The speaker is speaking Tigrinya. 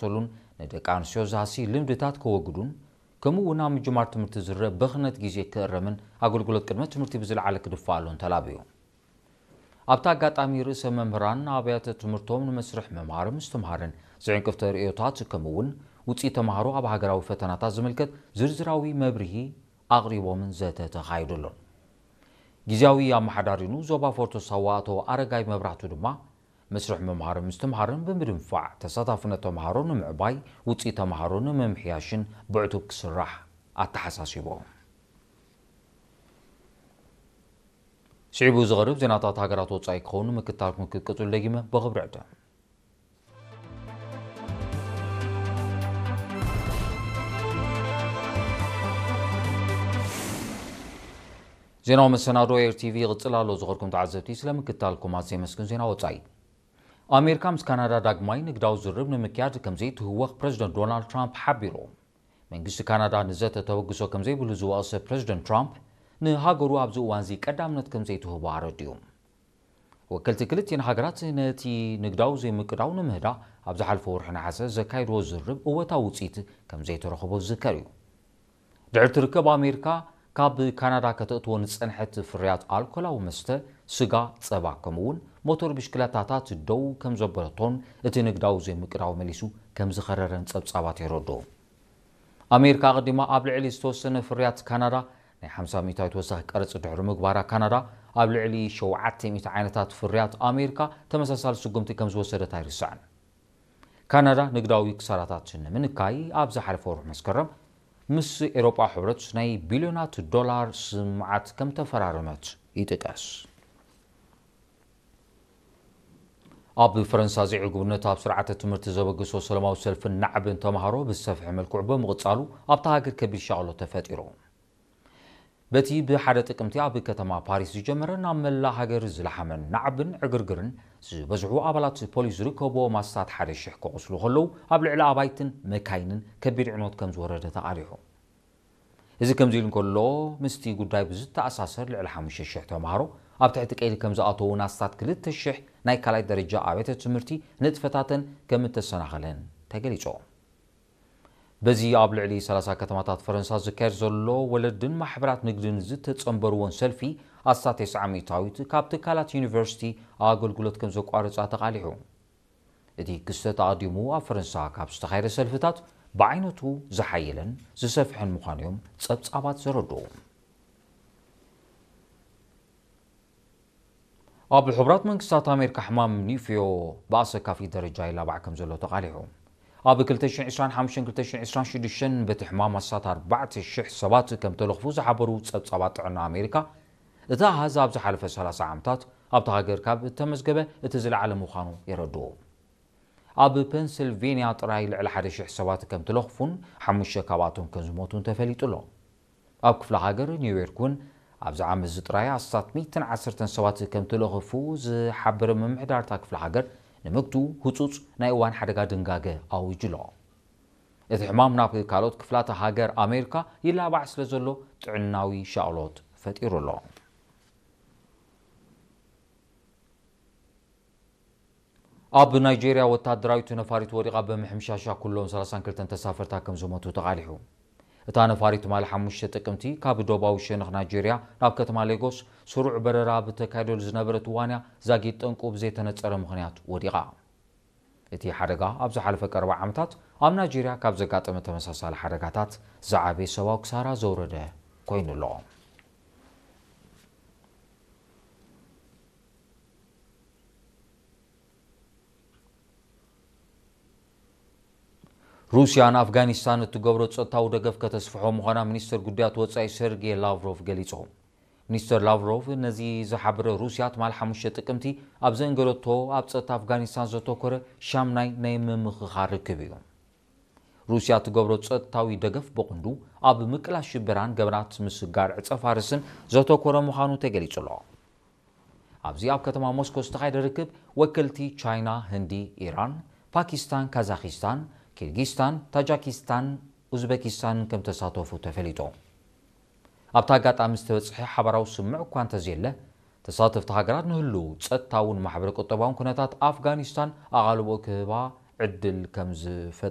ክሰሉን ንደቂ ኣንስትዮ ዝሃሲ ልምድታት ከወግዱን፣ ከምኡ እውን ኣብ ምጅማር ትምህርቲ ዝረአ ብኽነት ግዜ ክእረምን ኣገልግሎት ቅድመ ትምህርቲ ብዝለዓለ ክድፋኣሉን ተላብዩ። ኣብቲ ኣጋጣሚ ርእሰ መምህራን ኣብያተ ትምህርቶም ንመስርሕ ምምሃር ምስትምሃርን ዝዕንቅፍቲ ርእዮታት ከምኡ እውን ውፅኢት ተምሃሮ ኣብ ሃገራዊ ፈተናታት ዝምልከት ዝርዝራዊ መብርሂ ኣቕሪቦምን ዘተ ተኻይዱሉን። ግዝያዊ ኣመሓዳሪኑ ዞባ ፎርቶ ሳዋ ኣቶ ኣረጋይ መብራህቱ ድማ መስርሕ ምምሃርን ምስትምሃርን ብምድንፋዕ ተሳታፍነት ተምሃሮ ንምዕባይ ውፅኢት ተምሃሮ ንምምሕያሽን ብዕቱብ ክስራሕ ኣተሓሳሲቦም። ስዒቡ ዝቐርብ ዜናታት ሃገራት ወጻኢ ክኸውን ምክታልኩም ክትቅጽሉ ደጊመ ብኽብሪ ዕድም። ዜናዊ መሰናዶ ኤር ቲቪ ይቕጽል ኣሎ። ዝኸርኩም ተዓዘብቲ ስለ ምክታልኩም ኣዝየ የመስግን። ዜና ወጻኢ። ኣሜሪካ ምስ ካናዳ ዳግማይ ንግዳዊ ዝርብ ንምክያድ ከም ዘይትህወኽ ፕረዚደንት ዶናልድ ትራምፕ ሓቢሩ። መንግስቲ ካናዳ ንዘተ ተበግሶ ከም ዘይብሉ ዝወቐሰ ፕረዚደንት ትራምፕ፣ ንሃገሩ ኣብዚ እዋንዚ ቀዳምነት ከም ዘይትህቦ ኣረዲኡ። ወከልቲ ክልቲኤን ሃገራት ነቲ ንግዳዊ ዘይምቅዳው ንምህዳእ ኣብ ዝሓለፈ ወርሒ ነሓሰ ዘካየድዎ ዝርብ እወታዊ ውፅኢት ከም ዘይተረኽቦ ዝዝከር እዩ። ድሕርቲ ርክብ ኣሜሪካ ካብ ካናዳ ከተእትዎ ንፀንሐት ፍርያት ኣልኮላዊ መስተ፣ ስጋ፣ ፀባ ከምኡ እውን ሞተር ብሽክለታታት ደው ከም ዘበለቶን እቲ ንግዳዊ ዘይምቅዳው መሊሱ ከም ዝኸረረን ፀብፃባት የረድኡ። ኣሜሪካ ኣቐዲማ ኣብ ልዕሊ ዝተወሰነ ፍርያት ካናዳ ናይ ሓምሳ ሚእታዊት ወሳኺ ቀረጽ ድሕሪ ምግባራ፣ ካናዳ ኣብ ልዕሊ ሸውዓተ ሚእቲ ዓይነታት ፍርያት ኣሜሪካ ተመሳሳሊ ስጉምቲ ከም ዝወሰደት ኣይርሳዕን። ካናዳ ንግዳዊ ክሳራታት ንምንካይ ኣብ ዝሓለፈ ወርሒ መስከረም ምስ ኤውሮጳ ሕብረት ናይ ቢልዮናት ዶላር ስምምዓት ከም ተፈራረመት ይጥቀስ። ኣብ ፈረንሳ ዘይዕጉብነት ኣብ ስርዓተ ትምህርቲ ዘበገሶ ሰላማዊ ሰልፍን ናዕብን ተምሃሮ ብዝሰፍሐ መልክዑ ብምቕጻሉ ኣብታ ሃገር ከቢድ ሻቕሎት ተፈጢሩ። በቲ ብሓደ ጥቅምቲ ኣብ ከተማ ፓሪስ ዝጀመረ ናብ መላእ ሃገር ዝለሓመን ናዕብን ዕግርግርን ዝበዝሑ ኣባላት ፖሊስ ዝርከብዎም ኣስታት ሓደ ሽሕ ክቖስሉ ከለዉ ኣብ ልዕሊ ኣባይትን መካይንን ከቢድ ዕንወት ከም ዝወረደ ተቓሊሑ። እዚ ከምዚ ኢሉ እንከሎ፣ ምስቲ ጉዳይ ብዝተኣሳሰር ልዕሊ ሓሙሽተ ሽሕ ተምሃሮ ኣብ ትሕቲ ቀይዲ ከም ዝኣተዉን ኣስታት ክልተ ሽሕ ናይ ካልኣይ ደረጃ ኣብያተ ትምህርቲ ንጥፈታተን ከም እተሰናኸለን ተገሊጹ። በዚ ኣብ ልዕሊ ሰላሳ ከተማታት ፈረንሳ ዝካየድ ዘሎ ወለድን ማሕበራት ንግድን ዝተጸንበርዎን ሰልፊ ኣስታት ተስዓ ሚእታዊት ካብ ትካላት ዩኒቨርሲቲ ኣገልግሎት ከም ዘቋርጻ ተቓሊሑ። እቲ ክስተት ኣቐዲሙ ኣብ ፈረንሳ ካብ ዝተኻየደ ሰልፍታት ብዓይነቱ ዝሓየለን ዝሰፍሐን ምዃኑ እዮም ጸብጻባት ዘረድኡ። ኣብ ሕቡራት መንግስታት ኣሜሪካ ሕማም ኒፍዮ ብኣሰካፊ ደረጃ ይላባዕ ከም ዘሎ ተቓሊሑ። ኣብ ክልተ ሽሕን ዕስራን ሓሙሽተን ክልተ ሽሕን ዕስራን ሽዱሽተን በቲ ሕማም ኣስታት ኣርባዕተ ሽሕ ሰባት ከም ተለኽፉ ዝሓበሩ ጸብጻባት ጥዕና ኣሜሪካ፣ እቲ ኣሃዝ ኣብ ዝሓለፈ ሰላሳ ዓመታት ኣብታ ሃገር ካብ እተመዝገበ እቲ ዝለዓለ ምዃኑ የረድኡ። ኣብ ፔንስልቬንያ ጥራይ ልዕሊ ሓደ ሽሕ ሰባት ከም ተለኽፉን ሓሙሽተ ካብኣቶም ከም ዝሞቱን ተፈሊጡ ኣሎ። ኣብ ክፍለ ሃገር ኒውዮርክ እውን ኣብዚ ዓመት እዚ ጥራይ ኣስታት ሚእትን ዓሰርተን ሰባት ከም ተለኽፉ ዝሓበረ ምምሕዳር እታ ክፍለ ሃገር፣ ንምግቱ ህጹጽ ናይ እዋን ሓደጋ ድንጋገ ኣዊጁ ኣሎ። እቲ ሕማም ናብ ካልኦት ክፍላተ ሃገር ኣሜሪካ ይላባዕ ስለ ዘሎ ጥዕናዊ ሻቕሎት ፈጢሩ ኣሎ። ኣብ ናይጄርያ ወታደራዊት ነፋሪት ወዲቓ ብምሕምሻሻ ኩሎም ሰላሳን ክልተን ተሳፈርታ ከም ዝሞቱ ተቓሊሑ። እታ ነፋሪት ትማሊ ሓሙሽተ ጥቅምቲ ካብ ዶባዊ ሸነኽ ናይጄርያ ናብ ከተማ ሌጎስ ስሩዕ በረራ ብተካይደሉ ዝነበረት እዋን እያ ዛጊት ጠንቁ ብዘይተነጸረ ምኽንያት ወዲቓ። እቲ ሓደጋ ኣብ ዝሓለፈ ቀረባ ዓመታት ኣብ ናይጄርያ ካብ ዘጋጠመ ተመሳሳሊ ሓደጋታት ዝዓበየ ሰብኣዊ ክሳራ ዘውረደ ኮይኑ ኣሎ። ሩስያ ንኣፍጋኒስታን እትገብሮ ጸጥታዊ ደገፍ ከተስፍሖ ምዃና ሚኒስትር ጉዳያት ወጻኢ ሰርጌ ላቭሮቭ ገሊጹ። ሚኒስትር ላቭሮቭ ነዚ ዝሓበረ ሩስያ ትማሊ ሓሙሽተ ጥቅምቲ ኣብ ዘንገረቶ ኣብ ጸጥታ ኣፍጋኒስታን ዘተኮረ ሻምናይ ናይ ምምኽኻር ርክብ እዩ። ሩስያ እትገብሮ ጸጥታዊ ደገፍ ብቕንዱ ኣብ ምቅላስ ሽበራን ገበናት ምስጋር ዕጸ ፋርስን ዘተኮረ ምዃኑ ተገሊጹ ኣሎ። ኣብዚ ኣብ ከተማ ሞስኮ ዝተኻየደ ርክብ ወከልቲ ቻይና፣ ህንዲ፣ ኢራን፣ ፓኪስታን፣ ካዛኪስታን፣ ኪርጊስታን፣ ታጃኪስታን፣ ኡዝበኪስታን ከም ተሳተፉ ተፈሊጡ። ኣብቲ ኣጋጣሚ ዝተበጽሐ ሓባራዊ ስምምዕ እኳ እንተዘየለ፣ ተሳተፍቲ ሃገራት ንህልው ጸጥታውን ማሕበረ ቁጠባውን ኩነታት ኣፍጋኒስታን ኣቓልቦ ክህባ ዕድል ከም ዝፈጥ